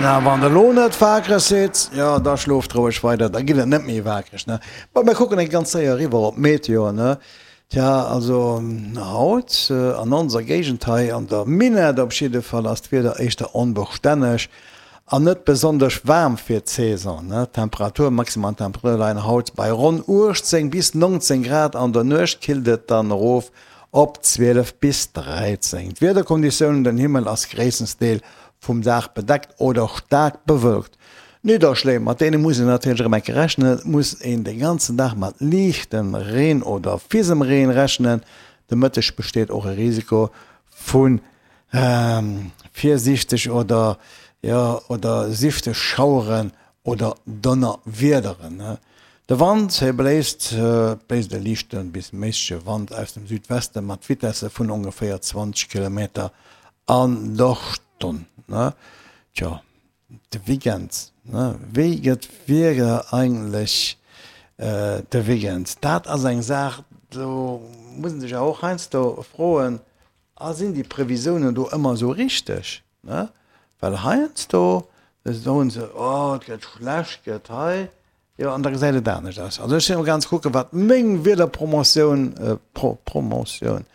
Na, wann der lo net waakreg sidd, jo, da schlooft roueg weider, da gitt et net méi waakreg, ne? Bon, mir kucken eng ganz séier eriwwer op d'Meteo, ne? Tja, also haut an onser Géigend hei, an der Minett op jidde Fall, ass d'Wieder éischter onbestänneg an net besonnesch waarm fir d'Saison, ne? D'Temperatur, maximal Temperature leien haut bei ronn 18 bis 19 Grad, an der Nuecht killt et dann erof Op 12 bis 13. D'Wiederkonditiounen, Den Himmel ass gréisstensdeel vum Dag bedeckt oder staark bewölkt. Nidderschléi, mat deene muss een natierlech erëm enke rechnen. Et muss een de ganzen Dag mat liichtem Reen oder Fisemreen rechnen. De Mëtteg besteet och e Risiko vu virsiichteg oder, jo, oder sifteg Schaueren oder Donnerwiederen. De Wand, hie bléist, et bléist e liichte bis méissege Wand aus dem Südweste mat Vitesse vun ongeféier 20 Kilometer an der Stonn. Tjo, de Weekend, wéi gëtt d'Wieder eigentlech de Weekend? Dat ass eng Saach, do muss een sech awer och heiansdo froen, A sinn déi Previsiounen do ëmmer esou richteg? Ne? Well heiansdo soen se, oh et gëtt schlecht, gëtt hei, jo an da gesäit et anescht aus. Also ech sinn am ganz kucken, wat meng Wiederpromotioun, Pro, Promotioun.